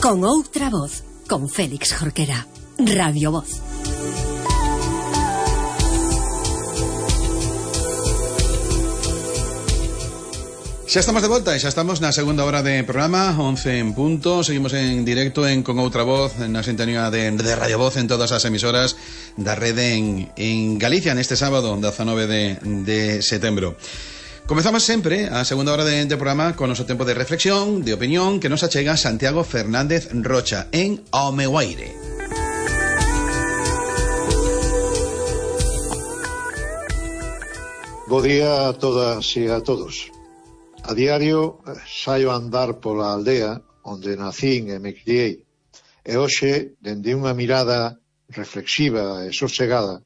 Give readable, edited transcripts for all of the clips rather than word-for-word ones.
Con outra voz, con Félix Jorquera. Radio Voz. Xa estamos de volta e xa estamos na segunda hora de programa, 11 en punto. Seguimos en directo en Con Outra Voz, na sintonía de Radio Voz en todas as emisoras da rede en Galicia neste sábado, 19 de setembro. Comezamos sempre a segunda hora de programa con o noso tempo de reflexión, de opinión, que nos achega Santiago Fernández Rocha en Ao meu aire. Bo día a todas e a todos. A diario saio a andar pola aldea onde nacín e me criei, e hoxe, dende unha mirada reflexiva e sosegada,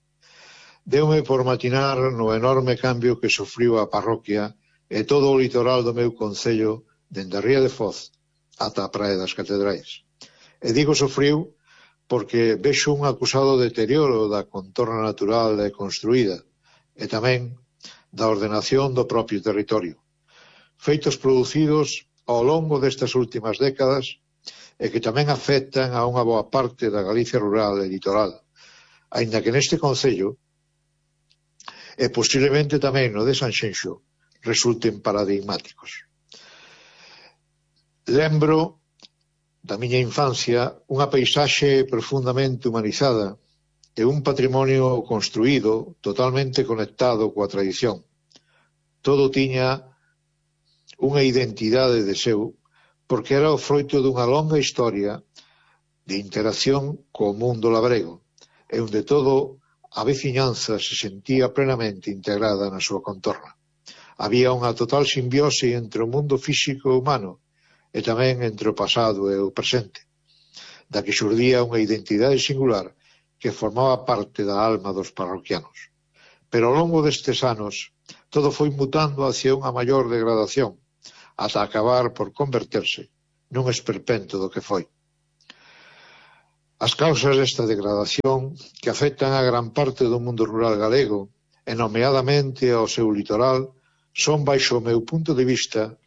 deume por matinar no enorme cambio que sofriu a parroquia e todo o litoral do meu concello dende a Ría de Foz ata a Praia das Catedrais. E digo sofriu porque vexo un acusado deterioro da contorna natural e construída e tamén da ordenación do propio territorio. Feitos producidos ao longo destas últimas décadas e que tamén afectan a unha boa parte da Galicia rural e litoral, aínda que neste concello e posiblemente tamén no de Sanxenxo resulten paradigmáticos. Lembro da miña infancia unha paisaxe profundamente humanizada e un patrimonio construído totalmente conectado coa tradición. Todo tiña unha identidade de seu porque era o froito dunha longa historia de interacción co mundo labrego e onde todo a veciñanza se sentía plenamente integrada na súa contorna. Había unha total simbiose entre o mundo físico e humano e tamén entre o pasado e o presente, da que xurdía unha identidade singular que formaba parte da alma dos parroquianos. Pero ao longo destes anos todo foi mutando hacia unha maior degradación, ata acabar por converterse nun esperpento do que foi. As causas desta degradación que afectan a gran parte do mundo rural galego, e nomeadamente ao seu litoral, son, baixo o meu punto de vista,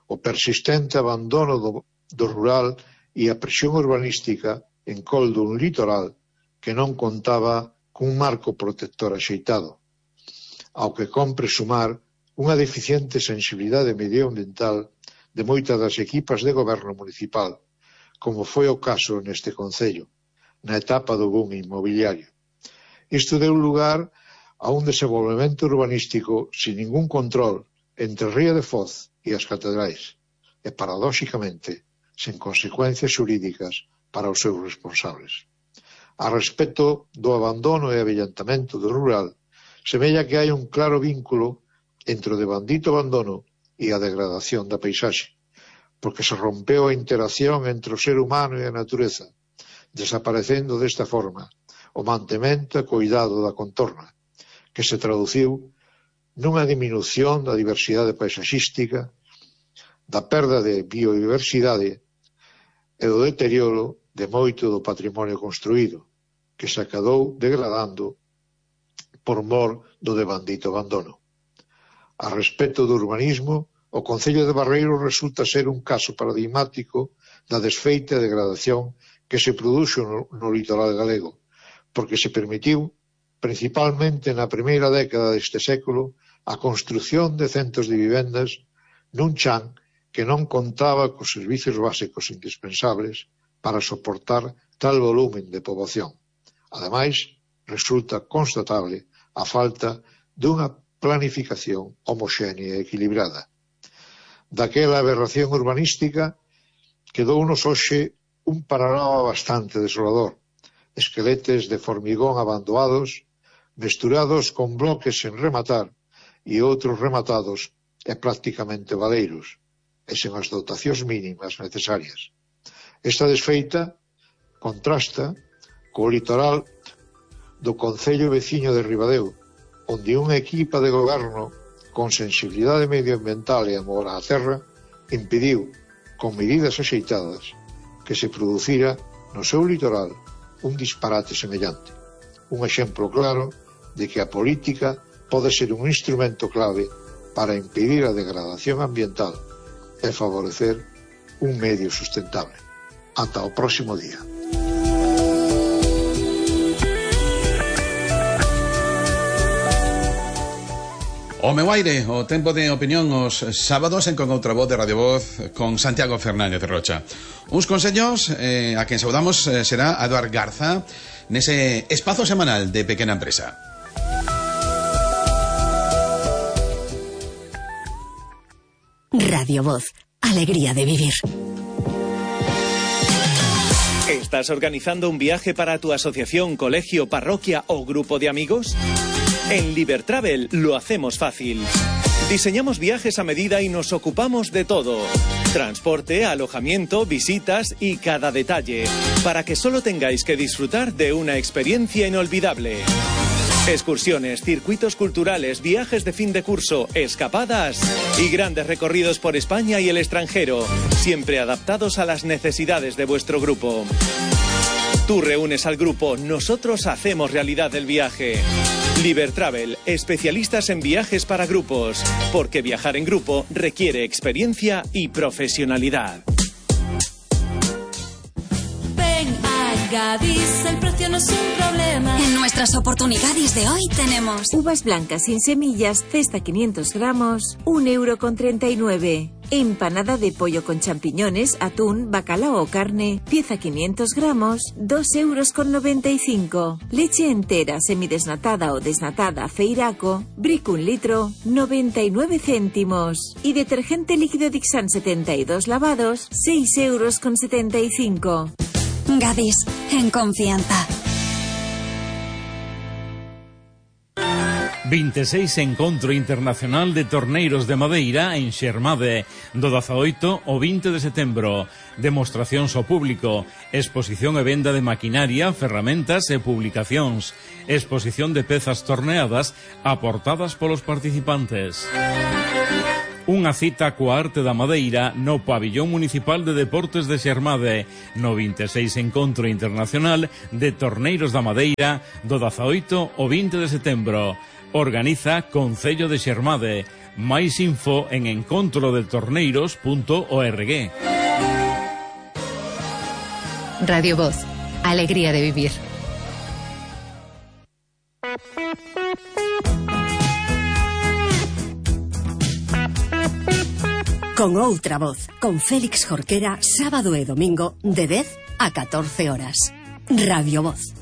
o persistente abandono do rural e a presión urbanística en col dun litoral que non contaba cun marco protector axeitado, ao que compre sumar unha deficiente sensibilidade medioambiental de moitas das equipas de goberno municipal, como foi o caso neste concello, na etapa do boom inmobiliario. Isto deu lugar a un desenvolvemento urbanístico sin ningún control entre Ría de Foz e as Catedrais, e, paradóxicamente, sen consecuencias xurídicas para os seus responsables. A respecto do abandono e avellentamento do rural, semella que hai un claro vínculo entre o devandito abandono e a degradación da paisaxe, porque se rompeu a interacción entre o ser humano e a natureza, desaparecendo desta forma o mantemento e cuidado da contorna, que se traduciu nunha diminución da diversidade paisaxística, da perda de biodiversidade e do deterioro de moito do patrimonio construído, que se acabou degradando por mor do devandito abandono. A respecto do urbanismo, o concello de Barreiro resulta ser un caso paradigmático da desfeita e degradación que se produxo no litoral galego, porque se permitiu, principalmente na primeira década deste século, a construción de centos de vivendas nun chan que non contaba cos servicios básicos indispensables para soportar tal volumen de poboación. Ademais, resulta constatable a falta dunha planificación homoxénea e equilibrada. Daquela aberración urbanística quedounos hoxe un panorama bastante desolador. Esqueletes de formigón abandoados, mesturados con bloques sen rematar e outros rematados e prácticamente baleiros, e sen as dotacións mínimas necesarias. Esta desfeita contrasta co litoral do concello veciño de Ribadeo, onde unha equipa de goberno con sensibilidade medioambiental e amor á terra impediu, con medidas axeitadas, que se producira no seu litoral un disparate semellante. Un exemplo claro de que a política pode ser un instrumento clave para impedir a degradación ambiental e favorecer un medio sustentable. Ata o próximo día. O meu aire, o tempo de opinión os sábados en Con Outra Voz de Radio Voz con Santiago Fernández Rocha. Uns consellos a quen saudamos será a Eduard Garza nese espazo semanal de Pequena Empresa. Radio Voz, alegría de vivir. ¿Estás organizando un viaje para tu asociación, colegio, parroquia o grupo de amigos? En Libertravel lo hacemos fácil. Diseñamos viajes a medida y nos ocupamos de todo. Transporte, alojamiento, visitas y cada detalle, para que solo tengáis que disfrutar de una experiencia inolvidable. Excursiones, circuitos culturales, viajes de fin de curso, escapadas y grandes recorridos por España y el extranjero, siempre adaptados a las necesidades de vuestro grupo. Tú reúnes al grupo, nosotros hacemos realidad el viaje. Libertravel, especialistas en viajes para grupos, porque viajar en grupo requiere experiencia y profesionalidad. Gadis, el precio no es un problema. En nuestras oportunidades de hoy tenemos uvas blancas sin semillas, cesta 500 gramos, 1,39 €. Empanada de pollo con champiñones, atún, bacalao o carne, pieza 500 gramos, 2,95 €. Leche entera, semidesnatada o desnatada, Feiraco, Brick 1 litro, 99 céntimos. Y detergente líquido Dixan 72 lavados, 6,75 €. Gadis, en confianza. 26 Encontro Internacional de Torneiros de Madeira en Xermade, do 18 ao 20 de setembro. Demostracións ao público, exposición e venda de maquinaria, ferramentas e publicacións, exposición de pezas torneadas aportadas polos participantes. Unha cita coa arte da madeira no Pabillón Municipal de Deportes de Xermade, no 26 Encontro Internacional de Torneiros da Madeira do 18 ao 20 de setembro. Organiza Concello de Xermade. Máis info en encontrodetorneiros.org. Radio Voz, alegría de vivir. Con Outra Voz, con Félix Jorquera, sábado e domingo de 10 a 14 horas. Radio Voz.